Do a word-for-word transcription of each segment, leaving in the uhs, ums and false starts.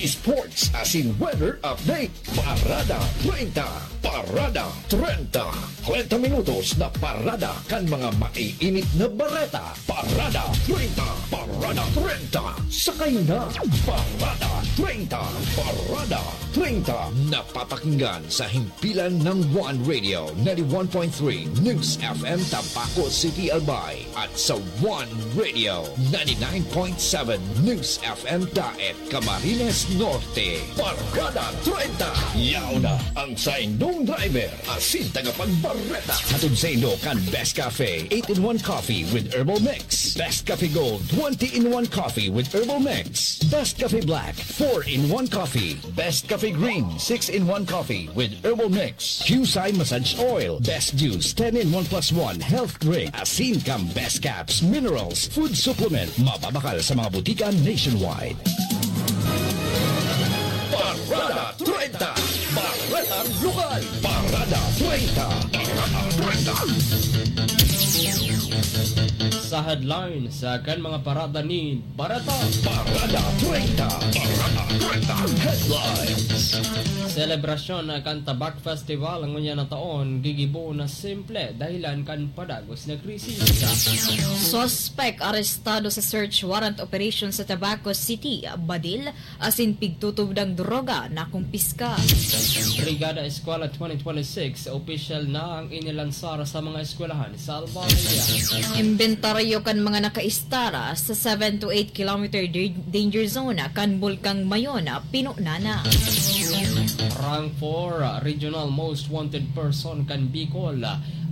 Sports asin weather update. Parada treinta. Parada treinta. Treinta minutos na parada kan mga maiinit na bareta. Parada treinta. Parada treinta. Sakay na. Parada treinta. Parada treinta. Napapakinggan sa himpilan ng One Radio ninety-one point three News F M Tabaco City, Albay, at sa One Radio ninety-nine point seven News F M Daet, Camarines Norte. Parada treinta. Yaon na ang saindong driver asin tagapagbareta. Hatod saindo kan Best Cafe, eight-in-one Coffee with Herbal Mix. Best Cafe Gold, twenty-in-one Coffee with Herbal Mix. Best Cafe Black, four-in-one Coffee. Best Cafe Green, six-in-one Coffee with Herbal Mix. Qcye Massage Oil, Best Juice, ten-in-one plus one Health Drink, asin kan Best Caps, Minerals, Food Supplement, mababakal sa mga butika nationwide. Parada treinta, Baretang Lokal. Parada treinta, Parada treinta. Sa headlines, sa kan mga parada ni Bareta. Parada treinta. Parada treinta. Headlines. Selebrasyon kan Tabak Festival ngunyan na taon gigibo na simple dahilan kan padagos na krisis. Suspek arestado sa search warrant operation sa Tabaco City, badil asin pigtutubdang droga na kumpiska. Brigada Eskwela twenty twenty-six, opisyal na ang inilansar sa mga eskwelahan sa Albay. Imbentaryo kan mga nakaistara sa seven to eight kilometer da-, danger zone kan Bulkang Mayon, pinuna na. Rank four, Regional Most Wanted Person kan Bicol,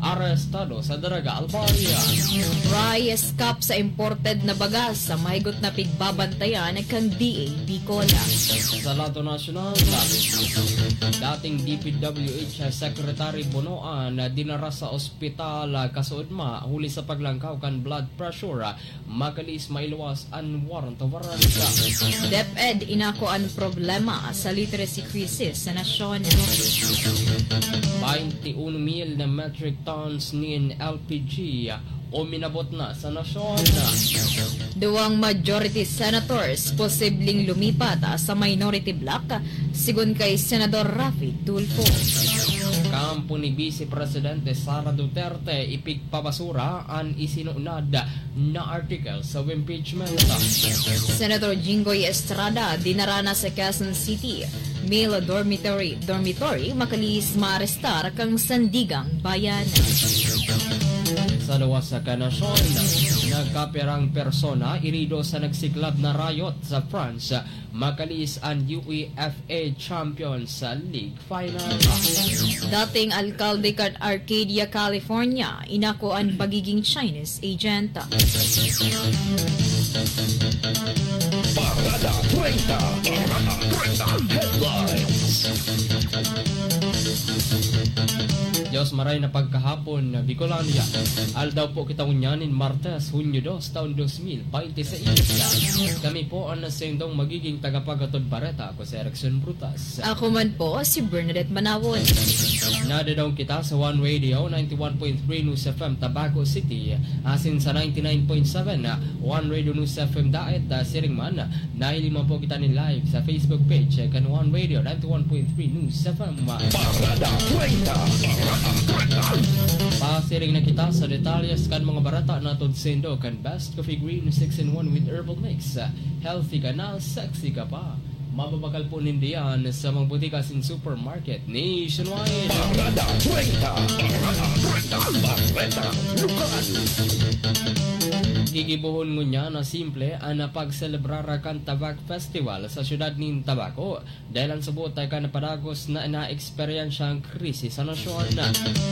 arestado sa Daraga, Albay. Rice cup sa imported na bagas sa mahigot na pigbabantayan kan D A Bicol. Sa lado nasyonal, dating D P W H Secretary Bonoan dinara sa ospital, kasuodma huli sa paglangkaw kan blood pressure. Makalis mailuwas an warrant of arrest. DepEd inako an problema sa literacy crisis sa nasyon. Baynte uno mil na metric tons nin L P G uminabot na sa nasyon. Duwang majority senators posibleng lumipat sa minority bloc, sigon kay Senador Raffy Tulfo. Kampo ni Vice Presidente Sara Duterte, ipigpabasura an isinunod na article sa impeachment. Senator Jinggoy Estrada dinara na sa Quezon City male dormitory, dormitory, makalis maarestar kan Sandigang Bayan. Sa luwas sa kanasyon, nagkapirang persona irido sa nagsiklab na riot sa France, makalis an UEFA Champions League final. Dating alkalde kan Arcadia, California, inako an pagiging Chinese agent. Parada treinta. Parada treinta. Headlines. Diyos maray na pagkahapon, Bicolandia. Aldaw po kita ngunyan nin Martes, Hunyo dos, taon dos mil baynte seis. Kami po an nasendong magiging tagapaghatod bareta. Ako si Erickson Brutas. Ako man po, si Bernadette Manawon. Nadadaong kita sa One Radio, ninety-one point three News F M Tabaco City, asin sa ninety-nine point seven One Radio News F M Daet, ah, siring man, nahiling man po kita nin live sa Facebook page, eh, kan One Radio, ninety-one point three News F M. Parada treinta. Pasiring na kita sa detalyes kan mga bareta na hatod saindo kan Best Coffee Green six-in-one with Herbal Mix. Healthy ka na, sexy ka pa. Mababakal po nindo yan sa mga butika asin supermarket nationwide. Parada treinta. Parada treinta. Bareta Lokal. Gigibohon ngunyan na simple an pagselebrar kan Tabak Festival sa siyudad nin Tabaco. Dahil an subot ay kan padagos na naeksperyensya an krisis sa nasyon.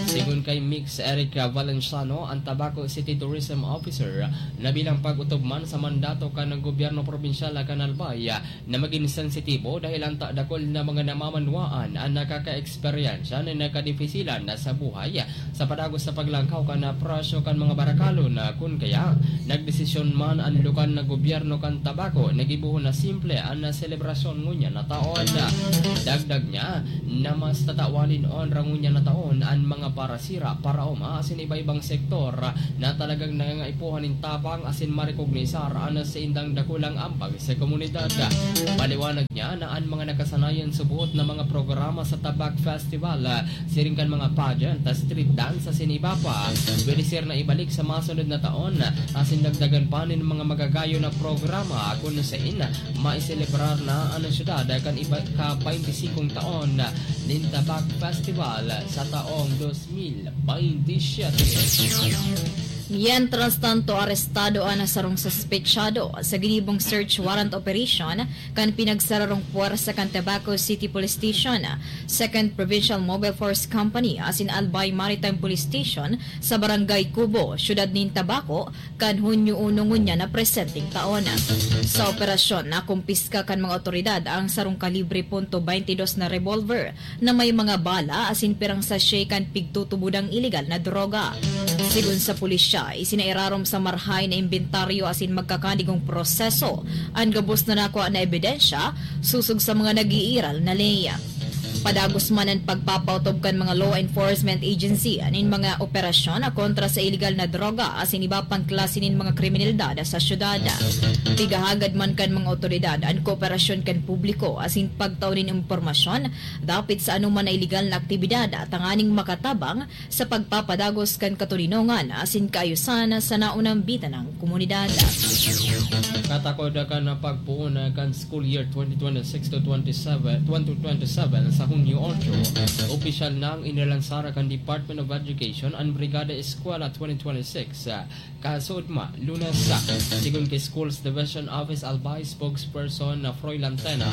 Sigon kay Mix Eric Valenciano, an Tabaco City Tourism Officer, na bilang pag-otob man sa mandato kan gobyerno probinsyal kan Albay, na magin sensitibo dahil an ta-, dakul na mga namamanwaan an nakakaeksperyensya nin kadipisilan sa buhay sa padagos sa paglangkaw kan presyo kan mga barakalon, kun kaya Nagdesisyon man an lokal na gobyerno kan Tabaco na gibohon na simple an selebrasyon ngunyan na taon. Dagdag niya na mas tatawan nin onra ngunyan na taon an mga parasira, paraoma asin iba-ibang sektor na talagang nangangaipuhan nin tabang asin marekognisar an saindang dakulang ambag sa komunidad. Paliwanag niya na an mga nakasanayan suboot na mga programa sa Tabak Festival, siring kan mga pageant, street dance asin iba pa, pwede siring na ibalik sa masunod na taon, asin dagdagan pa nin mga magagayon na programa kun sain maiselebrar na an syudad kan iba ka baynte singkong taon nin Tabak Festival sa taong dos mil baynte siyete. Mientras tanto, arestado an sarong suspetsado sa ginibong search warrant operation kan pinagsararong puwersa kan Tabaco City Police Station, Second Provincial Mobile Force Company asin Albay Maritime Police Station sa Barangay Cubo, Siyudad nin Tabaco, kan Hunyo uno ngunyan na presenteng taon. Sa operasyon, nakumpiska kan mga otoridad ang sarong kalibre punto baynte dos na revolver na may mga bala asin pirang sachet kan pigtutubodang ilegal na droga. Sigon sa pulisya, isinairarom sa marhay na imbentaryo asin magkakanigong proseso an gabos na nakua na ebidensya sosog sa mga nag-iiral na ley. Padagos man an pagpapaotob kan mga law enforcement agency nin mga operasyon kontra sa ilegal na droga asin iba pang klase nin mga kriminalidad sa syudad. Pigahagad man kan mga otoridad an kooperasyon kan publiko asin pagtao nin impormasyon dapit sa anoman na ilegal na aktibidad tanganing makatabang sa pagpapadagos kan katoninongan asin kaayusan sa naunambitan na komunidad. Katakod kan pagpoon kan school year twenty twenty-six to twenty-seven, twenty twenty-seven sa Hunyo otso, opisyal nang inilansar kan Department of Education an Brigada Eskwela twenty twenty-six. Kasunod, Lunes, sigon ki Schools Division Office Albay spokesperson na Froy Lantena,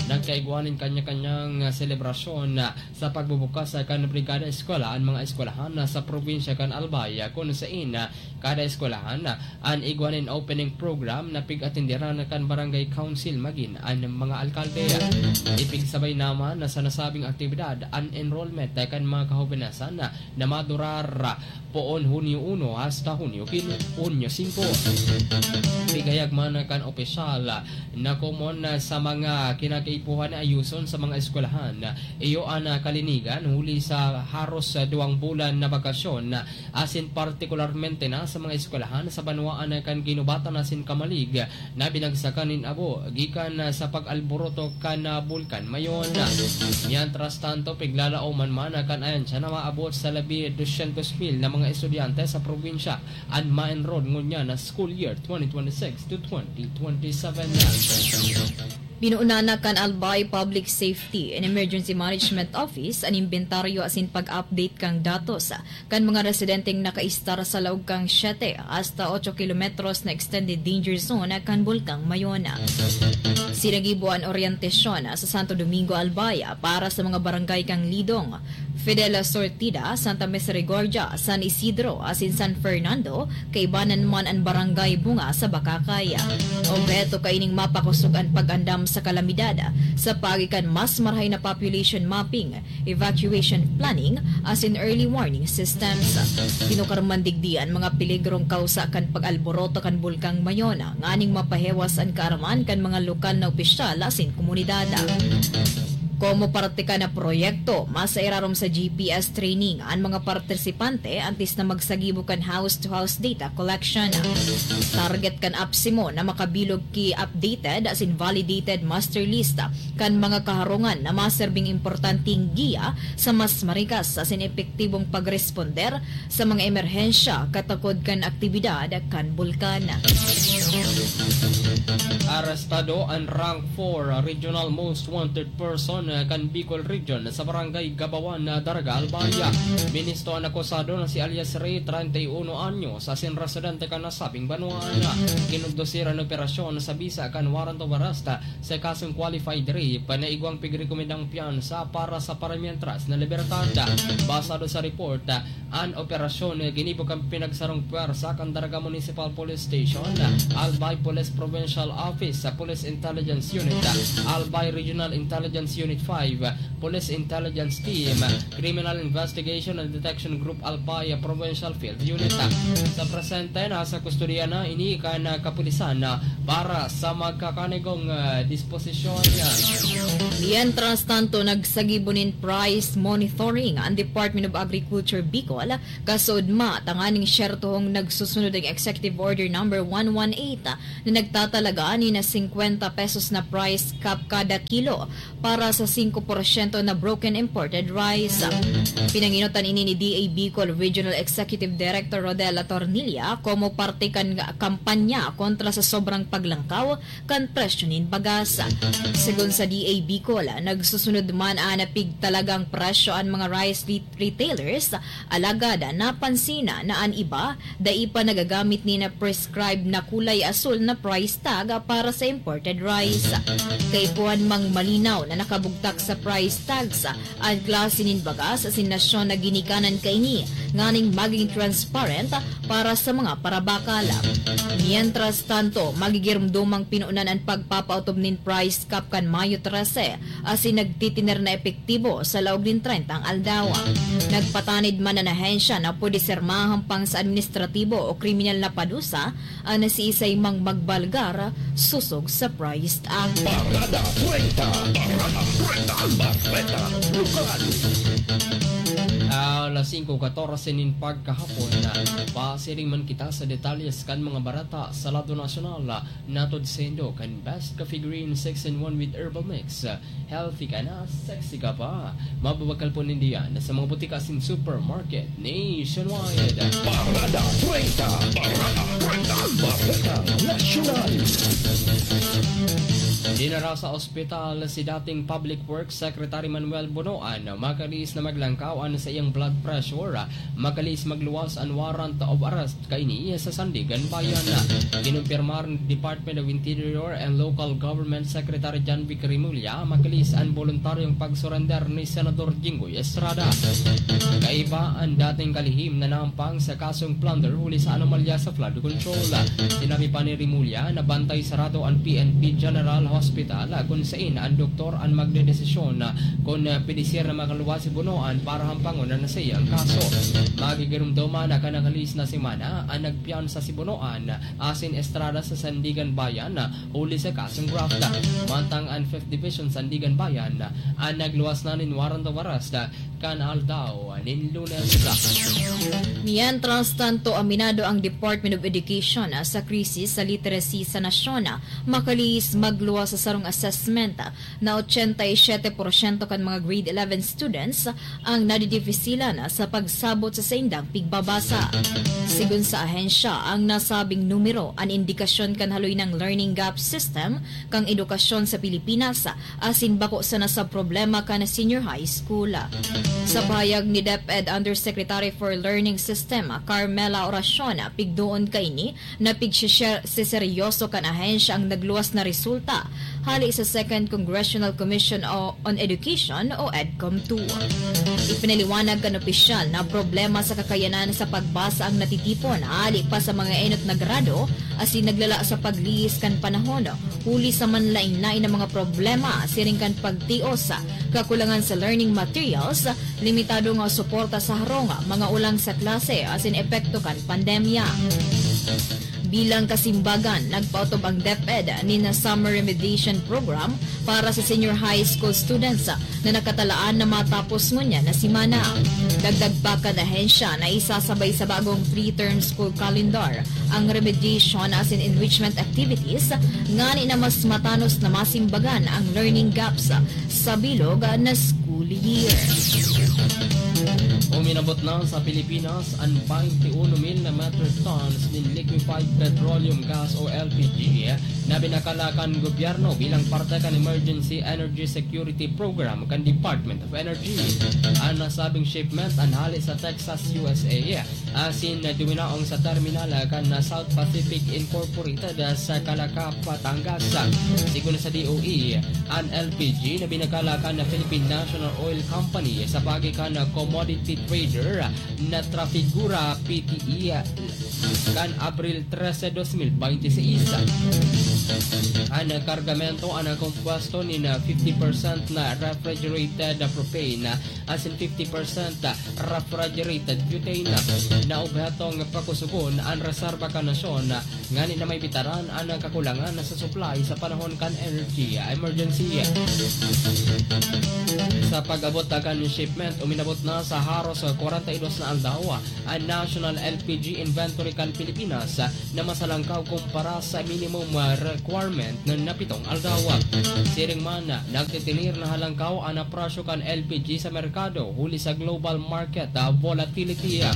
nagkaigwa nin kanya-kanyang selebrasyon sa pagbubukas kan Brigada Eskwela an mga eskwelahan sa probinsya kan Albay, kun sain kada eskwelahan an igwa nin opening program na pig-atenderan kan barangay council magin an mga alkalde. Ipigsabay naman na sa nasabing aktibidad an enrollment kan mga kahobenasan na madurar poon Hunyo uno hasta Hunyo quince, Hunyo singko. Pigayag man kan opisyal na komon sa mga kinakaipuhan na ayuson sa mga eskwelahan, iyo an kalinigan huli sa haros duwang bulan na bakasyon, asin partikularmente na sa mga eskwelahan sa banwaan kan ginubatan asin kamalig na binagsakan nin abo gikan sa pag-alboroto kan Bulkan Mayon. Mientras tanto, piglalaoman man kan ahensya na maabot sa labi dosyentos mil na mga estudyante sa probinsya an ma-enroll ngunyan na school year twenty twenty-six to twenty twenty-seven. Binuunan na kan Albay Public Safety and Emergency Management Office an imbentaryo asin pag-update kan datos kan mga residenteng nakaistar sa laog kan siyete hasta otso kilometros na extended danger zone kan Bulkang Mayon. Sinagibo an oryentasyon sa Santo Domingo Albay para sa mga barangay kan Lidong, Fidel Sortida, Santa Misericordia, San Isidro, asin San Fernando, kaibanan man an Barangay Bunga sa Bacacay. Obheto kaining mapakosog an pag-andam sa kalamidad sa paagi kan mas marahay na population mapping, evacuation planning, asin early warning systems. Tinukar man digdi an mga peligrong kawsa kan pag-alboroto kan Bulkang Mayon, nganing mapahewas an kaaraman kan mga lokal na opisyal asin komunidad. Komo parte kan proyekto, masairarom sa G P S training an mga partisipante antes na magsagibo kan house-to-house data collection. Target kan APSEMO na makabilog ki updated asin validated master list kan mga kaharungan na maserbing importanteng giya sa mas marikas asin epektibong pagresponder sa mga emerhensya katakod kan aktibidad kan bulkan. Arestado an rank four regional most wanted person kan Bicol Region sa Barangay Gabawan, Daraga, Albay. Ministro an akusado na si alias Ray, treinta y uno anyos, asin residente kan nasabing banwaan. Kinondusir an operasyon sa bisa kan warrant of arrest sa kasong qualified rape na igwang pigrekomendang piyansa para sa paramientras na libertad. Basado sa report, an operasyon ginibo kan pinagsarong pwersa kan Daraga Municipal Police Station, Albay Police Provincial Office, Police Intelligence Unit, Albay Regional Intelligence Unit five, Police Intelligence Team, Criminal Investigation and Detection Group Albay Provincial Field Unit. Sa presente, nasa kustodiya na ini kan kapulisan para sa magkakanigong, ah, disposisyon. Mientras tanto, nagsagibo nin price monitoring ang Department of Agriculture Bicol, kasuodma tanganing siyertohong nagsusunod ang Executive Order Number one one eight na nagtatalaga nin singkwenta pesos na price cap kada kilo para sa singko porsyento na broken imported rice. Pinanginutan ini ni D A Bicol Regional Executive Director Rodel Atornilla komo parte kan kampanya kontra sa sobrang paglangkaw kan presyo nin bagas. Segun sa D A Bicol, nagsusunod man an pigtalagang presyo an mga rice ret-, retailers, alagad napansin na an iba dai pa nagagamit nin prescribed na kulay asul na price tag para sa imported rice. Kaipuhan mang malinaw na nakabugtak sa price tags an klase nin bagas asin nasyon na ginikanan kaini, nganing maging transparent para sa mga parabakal. Mientras tanto, magigiromdomang pinunan an pagpapaotob nin price cap kan Mayo trese, asin nagtitiner na epektibo sa laog nin trentang aldaw. Nagpatanid man an ahensya na pwede ser mahahampang sa administratibo o kriminal na padusa an siisay mang magbalgar sosog sa price tag. Parada treinta, Parada treinta, Bareta Lokal. Ah, alas singko katorse nin pagkahapon na pasiring man kita sa detalles kan mga bareta sa lado nasyonal. Natod saindo kan Best Coffee Green six in one with Herbal Mix. Healthy ka na, sexy ka pa. Mababakal po nindiyan sa mga butika asin supermarket nationwide. Parada treinta, Parada treinta, Bareta Nasyonal. Dinara sa ospital si dating Public Works Secretary Manuel Bonoan, makaliis na maglangkaw an saiyang blood pressure. Makaliis magluwas an warrant of arrest kaini sa Sandigan Bayan. Kinumpirmar ni Department of Interior and Local Government Secretary John Vic Remulla, makaliis an boluntaryong pagsurrender ni Senador Jinggoy Estrada. Kaiba an dating kalihim na nahampang sa kasong plunder huli sa anomalya sa flood control. Sinabi pa ni Remulla na bantay sarado an P N P General Hospital, kun sain an doktor an magdedesisyon kun pwede siya na makaluwas si Bonoan para hampangon an saiyang kaso. Magigiromdoman na kan nakalihis na semana an nagpiyansa si Bonoan asin Estrada sa Sandigan Bayan huli sa kasong graft. Mantang an Fifth Division Sandigan Bayan an nagluwas na nin warrant of arrest kan aldaw nin Lunes. Mientras tanto, aminado ang Department of Education sa krisis sa literacy sa nasyon. Makalihis magluwas sa sarong assessment na ochenta y siete porsyento kan mga grade eleven students ang nadidipisilan sa pagsabot sa saindang pigbabasa. Sigon sa ahensya, ang nasabing numero an indikasyon kan haloy nang learning gap system kan edukasyon sa Pilipinas, asin bako sana sa problema kan senior high school. Sa pahayag ni DepEd Undersecretary for Learning System, Carmela Oracion, pigdoon kaini na pigsiseryoso kan ahensya ang nagluwas na resulta hali sa Second Congressional Commission o, on Education o EDCOM two. Ipinaliwanag kan opisyal na problema sa kakayanan sa pagbasa ang natitipon hali pa sa mga enot na grado asin naglala sa paglihis kan panahon huli sa manlaen-laen na mga problema siring kan pagtios, kakulangan sa learning materials, limitado nga suporta sa harong, mga ulang sa klase asin epekto kan pandemya. Bilang kasimbagan, nagpaotob ang DepEd nin Summer Remediation Program para sa senior high school students na nakatalaan na matapos ngunyan na semana. Dagdag pa kan ahensya na isasabay sa bagong three-term school calendar ang remediation asin enrichment activities ngani na mas matanos na masimbagan ang learning gaps sa bilog na school year. Uminabot na sa Pilipinas an twenty-one mil na metric tons nin liquefied petroleum gas o L P G na binakala kan gobyerno bilang parte kan Emergency Energy Security Program kan Department of Energy. An nasabing shipment an hale sa Texas, U S A, asin duminaong sa terminal kan South Pacific Incorporated sa Calaca, Batangas. Sigon sa D O E, an L P G na binakala kan Philippine National Oil Company sa paagi kan commodity trader na Trafigura P T E kan Abril trese, dos mil bente seis. An kargamento an kompuesto nin fifty percent na refrigerated propane asin fifty percent refrigerated butane. Na obhetong pakusugon an reserba kan nasyon ngani na maibitaran an kakulangan sa supply sa panahon kan energy emergency. Sa pag-abot kan shipment, uminabot na sa haros kwarenta y dos na aldaw an National L P G Inventory kan Pilipinas na mas halangkaw kumpara sa minimum requirement na pitong aldaw. Siring man, nagtitilir na halangkaw an presyo kan L P G sa merkado huli sa global market volatility.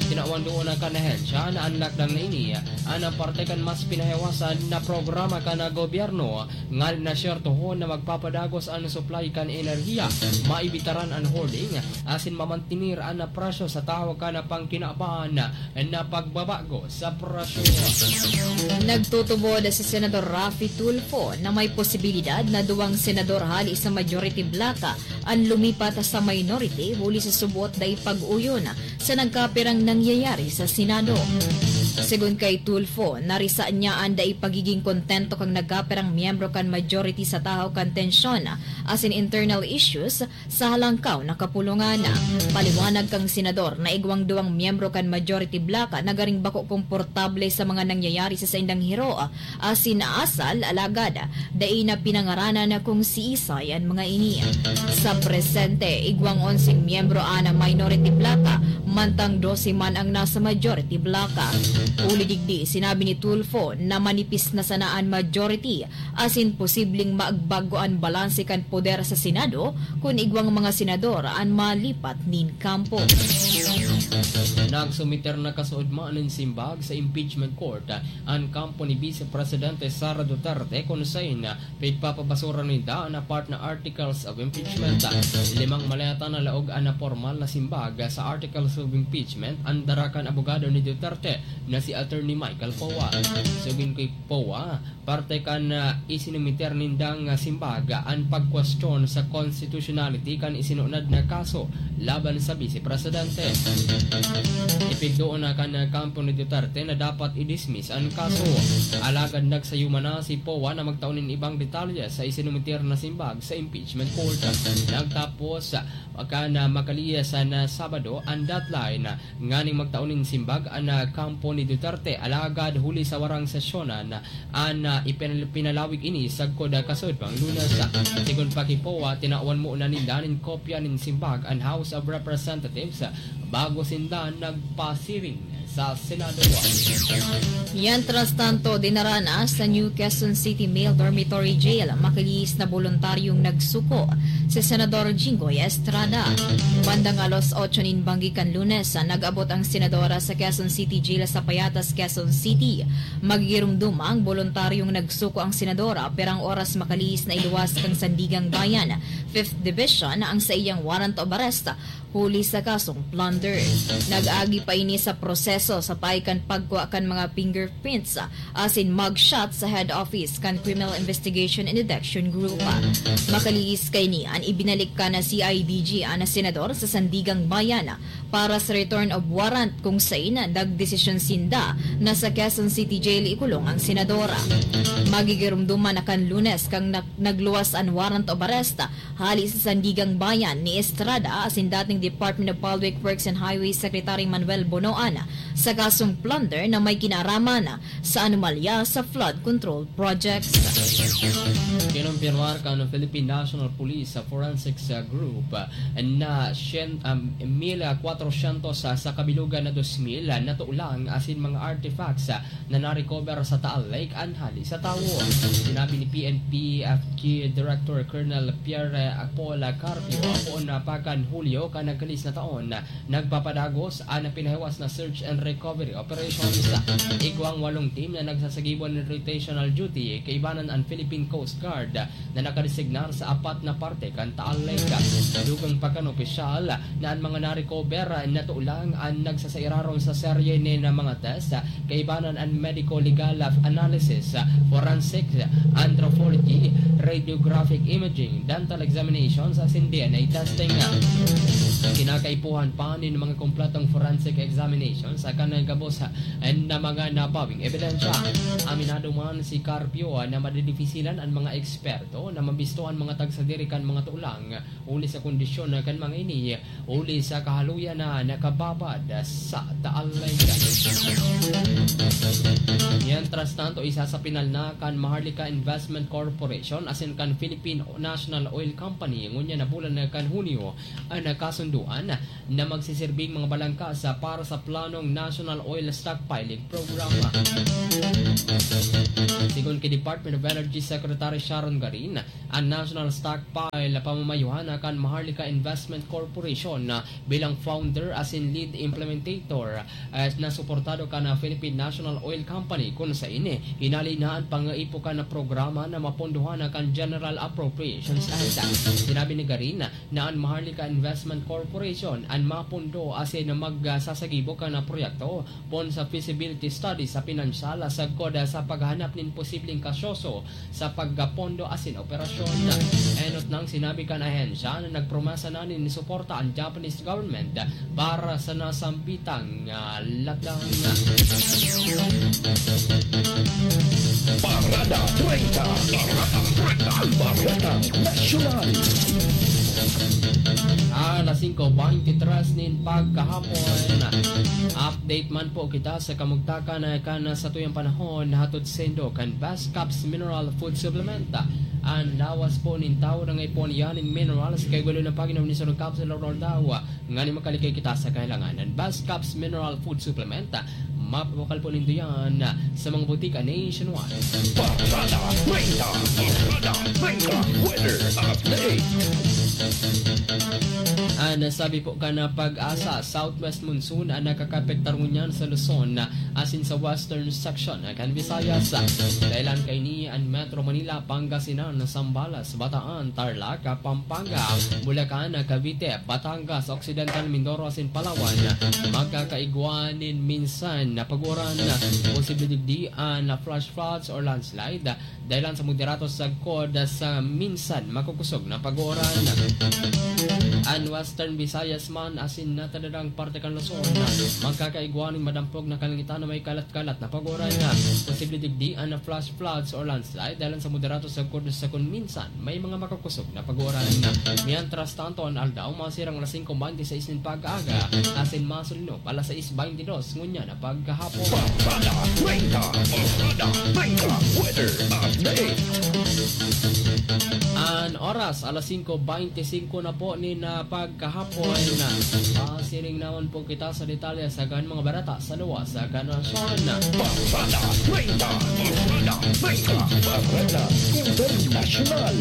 Tinawan duon kan ahensya na an lockdown na ini an parte kan mas pinahiwasan na programa kan gobyerno, ngan na siyertohon na magpapadagos an supply kan enerhiya, maibitaran an hoarding, asin mamantenir an presyo sa tahaw kan pangkinaban na pagbabago sa presyo. Nagtutubod si Senador Raffy Tulfo na may posibilidad na duwang senador hali sa majority bloc an lumipat sa minority huli sa subot dai pag-uyon sa nagkapirang nangyayari sa Senado. Segun kay Tulfo, narisa niya an dai pagiging kontento kan nagkapirang miyembro kan majority sa tahaw kan tensyon asin internal issues sa halangkaw na kapulungan. Paliwanag kan senador na igwang duwang miyembro kan majority bloc na garing bako komportable sa mga nangyayari sa saindang hiro asin asal, alagad dai na pinangaranan kung siisay an mga ini. Sa presente, igwang onseng miyembro an minority bloc, mantang dose man ang nasa majority bloc. Huli digdi, sinabi ni Tulfo na manipis na sana an majority asin posibleng magbago an balanse kan poder sa Senado kun igwang mga senador an malipat nin kampo. Nagsumiter na kasuodma nin simbag sa impeachment court an kampo ni Vice Presidente Sara Duterte, kun saen pigpapabasura ninda an apat na articles of impeachment. Limang maleta na laog an pormal na simbag sa articles of impeachment an dara kan abogado ni Duterte na si Attorney Michael Poa. Sigon kay Poa, parte kan, ah, isinumiter nindang, ah, simbag an pagkwestiyon sa constitutionality kan isinunod na kaso laban sa Vice Presidente. Ipigdoon na kan, ah, kampo ni Duterte na dapat i-dismiss an kaso. Alagad nagsayuma na si Poa na magtao nin ibang detalye sa isinumiter na simbag sa impeachment court. Nagtapos, ah, kan, ah, makalihis na Sabado an deadline nganing magtao nin simbag an, ah, kampo ni Duterte, alagad huli sa warang sesyonan an, ah, ipinal-, pinalawig ini sagkod, ah, kasuodmang Lunes. Sigon pa ki Poa, tinawan muna ninda nin kopya nin simbag an House of Representatives bago sinda nagpasiring sa Senado. Mientras tanto, dinara na sa New Quezon City Male Dormitory Jail makalihis na boluntaryong nagsuko si Senador Jinggoy Estrada. Bandang alas otso nin banggi kan Lunes, nag-abot ang senadora sa Quezon City Jail sa Payatas, Quezon City. Magigirumduma ang boluntaryong nagsuko ang senadora, pirang oras makalihis na iluwas kan Sandiganbayan, Fifth Division, ang saiyang warrant of arrest huli sa kasong plunder. Nag-agi pa ini sa proseso sa paagi kan pagkua kan mga fingerprints asin mugshot sa head office kan Criminal Investigation and Detection Group. Makalihis kaini an ibinalik kan C I D G an senador sa Sandiganbayan para sa return of warrant, kung saen nagdesisyon sinda na sa Quezon City Jail ikulong ang senadora. Magigirumduman na kan Lunes kan nag-, nagluwas an warrant of arrest hali sa Sandiganbayan ni Estrada asin dating Department of Public Works and Highways Secretary Manuel Bonoan sa kasong plunder na may kinaaraman sa anomalya sa flood control projects. Kinumpirmar kan Philippine National Police sa Forensics, uh, Group, uh, na syen-, um, mil kwatrosyentos sa, sa kabilugan na dos mil, uh, na tulang asin mga artifacts, uh, na na-recover sa Taal Lake an hali sa tawo. Sinabi ni P N P F Q Director Colonel Pierre Paul Carpio, poon na pa kan Hulyo kan nagkalihis na taon, nagpapadagos an pinahiwas na search and recovery operations. Igwang walong team na nagsasagibo nin rotational duty, kaibanan an Philippine Coast Guard na nakadesignar sa apat na parte kan Taal Lake. Dugang pa kan opisyal na an mga na-recover na tulang an nagsasairarom sa serye nin mga test, kaibanan an medico-legal analysis, forensic, anthropology, radiographic imaging, dental examinations asin D N A testing. Kinakaipuhan pa nin mga kompletong forensic examinations sa kan gabos na mga nabawing ebidensya. Aminado man si Carpio na madidipisilan an mga eksperto na mabisto an mga tagsadiri kan mga tulang huli sa kondisyon kan mga ini, huli sa kahaluyan na nakababad sa Taal Lake. Mientras tanto, isa sa pinal na kan Maharlika Investment Corporation asin kan Philippine National Oil Company ngunyan na bulan na kan Hunyo an kasunduan na magsisirbing mga balangkas para sa planong National Oil Stockpiling Program. Sigon ki Department of Energy Secretary Sharon Garin, an National Stockpile pamamayuhan na kan Maharlika Investment Corporation na bilang founder asin lead implementator, eh, na suportado kan Philippine National Oil Company, kun sain, eh, hinali na an pangaipo kan programa na mapondohan na kan General Appropriations Act. Sinabi ni Garin na an Maharlika Investment Corporation an mapondo asin magsasagibo kan proyekto poon sa feasibility study sa pinansyal sagkod sa paghahanap nin posibleng kasyoso sa pagpondo asin operasyon. Enot nang sinabi kan ahensya na nagpromesa na nin suporta an Japanese government para sa nasambitang, ah, latang. Parada treinta. Parada treinta. Parada Nasyonal. Alas singko beintitres nin pagkahapon. Update man po kita sa kamugtakan kan satuyang panahon, hatod saindo kan Best Caps Mineral Food Supplement. An lawas po nin tawo na ngaipuhan iyan nin minerals, kaya gulo na pag-inom nin sarong capsule or dawa, nganing makalikay kita sa kahilangan. An Best Caps Mineral Food Supplement, mapapakal po nindo yan sa mga butika nationwide. Parada treinta. Parada treinta. Weather update. An sabi po kan PAGASA, southwest monsoon an nakakapektar ngunyan sa Luzon asin sa western section kan Visayas. Dahelan kaini an Metro Manila, Pangasinan, Zambales, Bataan, Tarlac, Pampanga, Bulacan, Cavite, Batangas, Occidental Mindoro asin Palawan. Magkakaigwa nin minsan na pag-uran, posible digdi an flash floods or landslide. Dahelan sa moderato sagkod sa minsan makukosog na pag-uran. An Western Visayas man asin natatadang parte kan Luzon, magkakaigwa nin madampog na kalangitan na may kalat-kalat na pag-uran. Posible digdi an flash floods or landslide dahelan sa moderato sagkod sa kun minsan may mga makukosog na pag-uran. Mientras tanto, an aldaw masirang alas singko beintiseis nin pag-aaga asin masulinog alas sais beintidos ngunyan na pagkahapon. Parada treinta. Parada treinta. Weather update. An oras, alas singko beintisingko na po nin, ah, pagkahapon. Pasiring naman po kita sa detalye sa kan mga bareta sa luwas sa kan nasyon. Parada treinta. Parada treinta. Parada Internasyonal.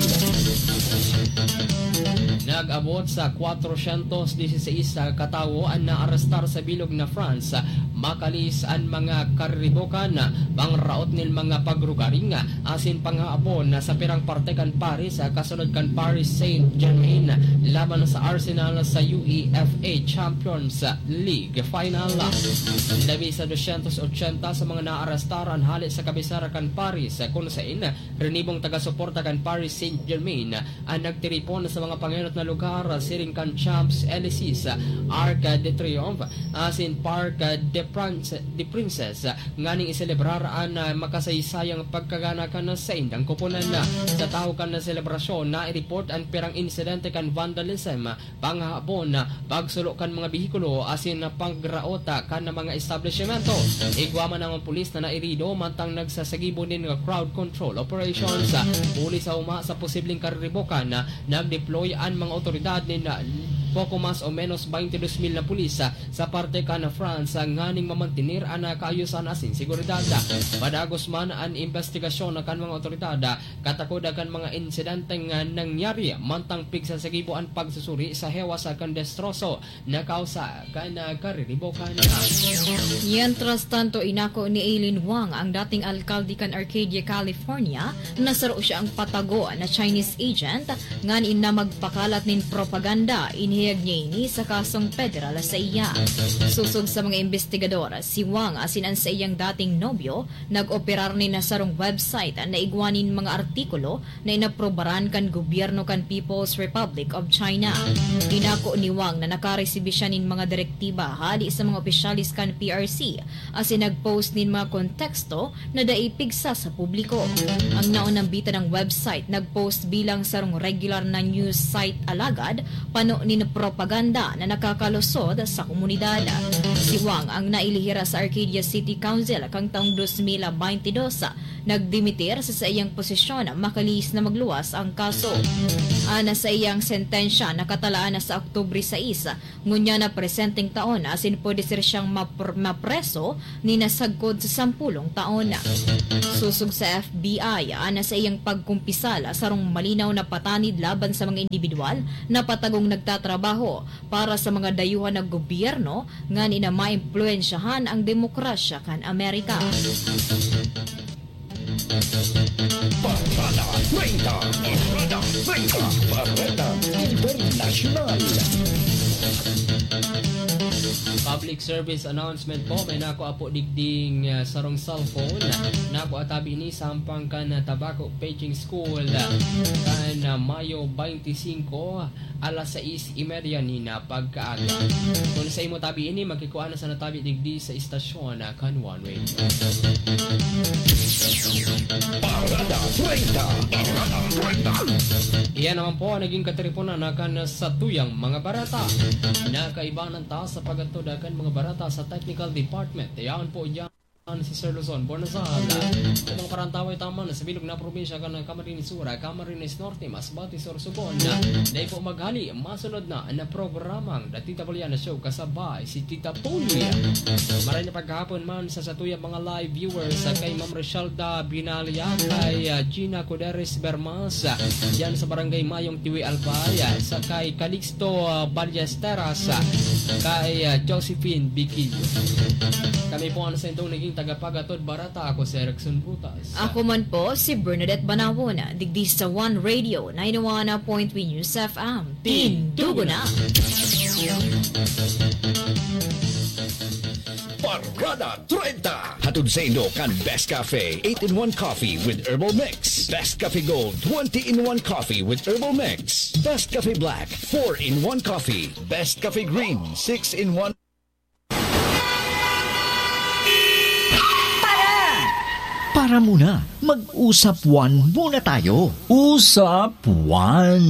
Nag-abot sa kwatrosyentos dieciséis sa katawo an naarestar sa bilog na France. Makalis an mga kariribokan, pangraot nin mga pagrugaring, asin panghahabon sa pirang parte kan Paris, kasunod kan Paris Saint-Germain laban sa Arsenal sa UEFA Champions League final. Labi sa dosyentos otsenta sa mga naarestar an hale sa kabisera kan Paris, kun sain rinibong taga-suporta kan Paris Saint-Germain an nagtiripon sa mga pangenot na lugar siring kan Champs-Élysées, Arc de Triomphe, asin Parc de France, de Princes, nganing iselebrar an, ah, makasaysayang pagkagana kan saindang koponan. Sa tahaw kan selebrasyon, naireport an pirang insidente kan vandalism, panghahabon, pagsulo kan mga behikulo asin pagraot kan mga establisimento. Igwa man an pulis na nairido mantang nagsasagibo nin crowd control operations. Huli sa uma sa posibleng kariribokan, nag-deploy an mga otoridad nin poko mas o menos twenty-two mil na pulis, ah, sa parte kan France, ah, nganing mamantener an, ah, kaayusan asin seguridad. Padagos man an imbestigasyon kan mga otoridad, ah, katakod kan mga insidenteng, ah, nangyari, mantang pigsasagibo an pagsusuri sa hewas, ah, kan destroso na kausa kan, ah, kariribokan. Mientras tanto, inako ni Aileen Wang, ang dating alkalde kan Arcadia, California, na saro siyang patago na Chinese agent, nganing na magpakalat nin propaganda. Inihayag niya ini sa kasong pederal sa iya. Sosog sa mga imbestigador, si Wang asin an saiyang dating nobyo nag-operar nin sarong website na igwa nin mga artikulo na inaprobaran kan gobyerno kan People's Republic of China. Inako ni Wang na nakaresibi siya nin mga direktiba hali sa mga opisyales kan P R C asin nag-post nin mga konteksto na dai pigsa sa publiko. Ang naunang bita ng website nag-post bilang sarong regular na news site, alagad pano nin propaganda na nakakalusot sa komunidad. Si Wang ang nailihira sa Arcadia City Council kan taong dos mil baynte dos. Nagdimitir sa saiyang posisyon makalihis na magluwas ang kaso. An saiyang sentensya nakatalaan na sa Oktubre sais, ngunyan na presenteng taon, asin pwede ser siyang mapr-, mapreso nin sagkod sa sampulong taon. Sosog sa F B I, an saiyang pagkumpisal sarong malinaw na patanid laban sa mga indibidwal na patagong nagtatrabaho para sa mga dayuhan na gobyerno nganing na maimpluwensyahan ang demokrasya kan Amerika. Parada treinta. Parada treinta. Bareta Internasyonal. Public service announcement po, may nakua po digding, ah, sarong cellphone. Nakua tabi ini sa hampang kan, ah, Tabaco Paging School, ah, kan, ah, Mayo twenty-five, alas sais y media nin, ah, pagkaaga. Kun sa imo tabi ini, makikua na sana tabi digdi sa istasyon, ah, kan One Radio. Parada treinta. Parada treinta. Iyan naman po ang naging katiriponan na kan satuyang mga bareta. Nakaibanan ta sa pag-atod kan mga bareta sa technical department. Iyan po diyan si Sir Luzon Bornazal. Sa mga parantaway taman sa bilog na probinsya kan Camarines Sur, Camarines Norte, Masbate, Sorsogon. Dai po maghali, masunod na na programang The Tita Poliana Show kasabay si Tita Poli. Maray na paghapon man sa satuyang mga live viewers, sa kay Ma'am Rochelda Binalia, kay, ah, Gina Coderes Bermas, ah, diyan sa Barangay Mayong Tiwi, Albay, ah, sa kay Calixto, ah, Ballesteras, ah, kay, ah, Josephine Biquillo. Kami po ang sa indong naging tagapagatod barata. Ako si Erickson Butas. Ako man po si Bernadette Banawon, digdi sa One Radio, ninety-one point three News F M. Tindugo na! Parada treinta. Hatod sa indo kan Best Cafe, eight-in-one Coffee with Herbal Mix. Best Cafe Gold, twenty-in-one Coffee with Herbal Mix. Best Cafe Black, four-in-one Coffee. Best Cafe Green, six-in-one. Para muna, mag-usap-wan muna tayo. Usap-wan.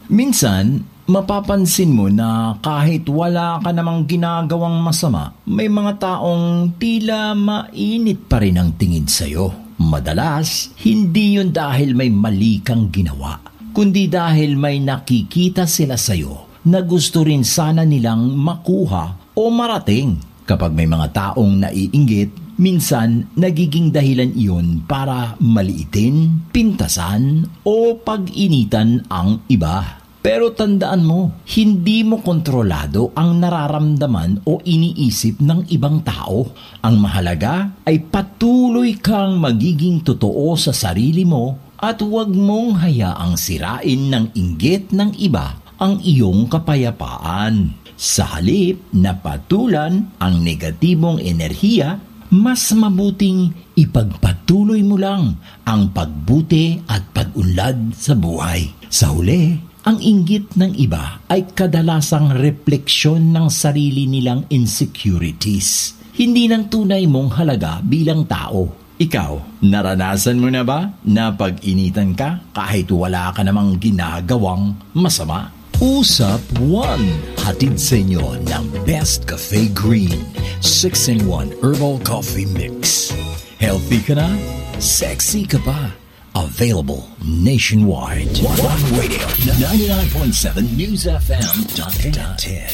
Minsan, mapapansin mo na kahit wala ka namang ginagawang masama, may mga taong tila mainit pa rin ang tingin sa'yo. Madalas, hindi yun dahil may mali kang ginawa, kundi dahil may nakikita sila sa'yo na gusto rin sana nilang makuha o marating. Kapag may mga taong naiinggit, minsan nagiging dahilan iyon para maliitin, pintasan, o pag-initan ang iba. Pero tandaan mo, hindi mo kontrolado ang nararamdaman o iniisip ng ibang tao. Ang mahalaga ay patuloy kang magiging totoo sa sarili mo at huwag mong hayaang sirain ng inggit ng iba ang iyong kapayapaan. Sa halip na patulan ang negatibong enerhiya, mas mabuting ipagpatuloy mo lang ang pagbuti at pag-unlad sa buhay. Sa huli, ang inggit ng iba ay kadalasang repleksyon ng sarili nilang insecurities, hindi ng tunay mong halaga bilang tao. Ikaw, naranasan mo na ba na pag-initan ka kahit wala ka namang ginagawang masama? Usap One, hatid sa inyo ng Best Cafe Green, six-in-one Herbal Coffee Mix. Healthy ka na, sexy ka pa. Available nationwide. One Radio, ninety-nine point seven News F M dot net.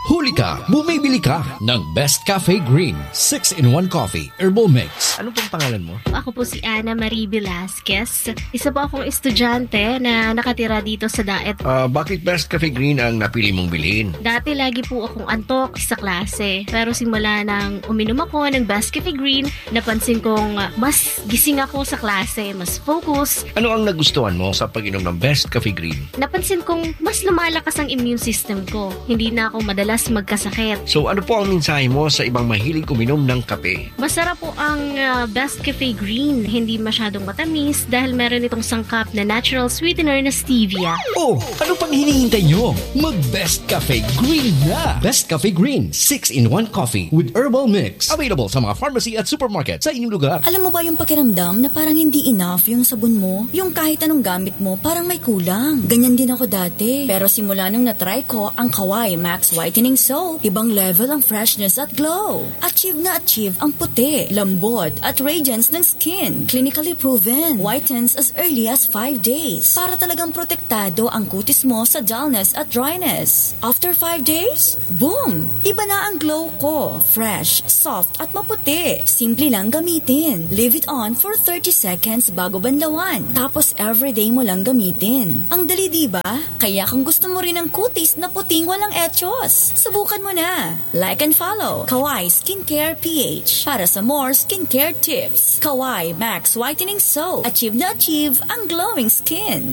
Huli ka, bumibili ka ng Best Cafe Green six-in-one Coffee Herbal Mix. Ano pong pangalan mo? Ako po si Ana Marie Velasquez. Isa po akong estudyante na nakatira dito sa Daet. Ah, bakit Best Cafe Green ang napili mong bilhin? Dati lagi po akong antok sa klase. Pero simula nang uminom ako ng Best Cafe Green, napansin kong ah, mas gising ako sa klase, mas focus. Ano ang nagustuhan mo sa pag-inom ng Best Cafe Green? Napansin kong mas lumalakas ang immune system ko. Hindi na ako madalas magkasakit. So ano po ang mensahe mo sa ibang mahilig uminom ng kape? Masarap po ang ah, Best Cafe Green. Hindi masyadong matamis dahil meron itong sangkap na natural sweetener na stevia. Oh, ano pang hinihintay nyo? Mag Best Cafe Green na! Best Cafe Green, six-in-one Coffee with Herbal Mix. Available sa mga pharmacy at supermarket sa inyong lugar. Alam mo ba yung pakiramdam na parang hindi enough yung sabon mo? Yung kahit anong gamit mo, parang may kulang. Ganyan din ako dati. Pero simula nung na-try ko ang Kawai Max Whitening Soap, ibang level ang freshness at glow. Achieve na achieve ang puti, lambot, at radiance ng skin. Clinically proven. Whitens as early as five days. Para talagang protektado ang kutis mo sa dullness at dryness. After five days, boom! Iba na ang glow ko. Fresh, soft, at maputi. Simple lang gamitin. Leave it on for thirty seconds bago banlawan. Tapos everyday mo lang gamitin. Ang dali, di ba? Kaya kung gusto mo rin ng kutis na puting walang echos, subukan mo na. Like and follow Kawai Skincare P H para sa more skincare tips. Kawai Max Whitening Soap. Achieve na achieve ang glowing skin.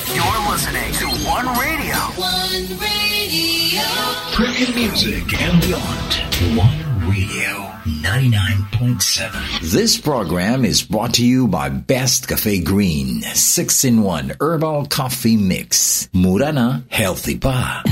You're listening to One Radio. One Radio. Premium music and beyond. One Radio, ninety-nine point seven. This program is brought to you by Best Cafe Green, six-in-one Herbal Coffee Mix. Mura na, healthy pa.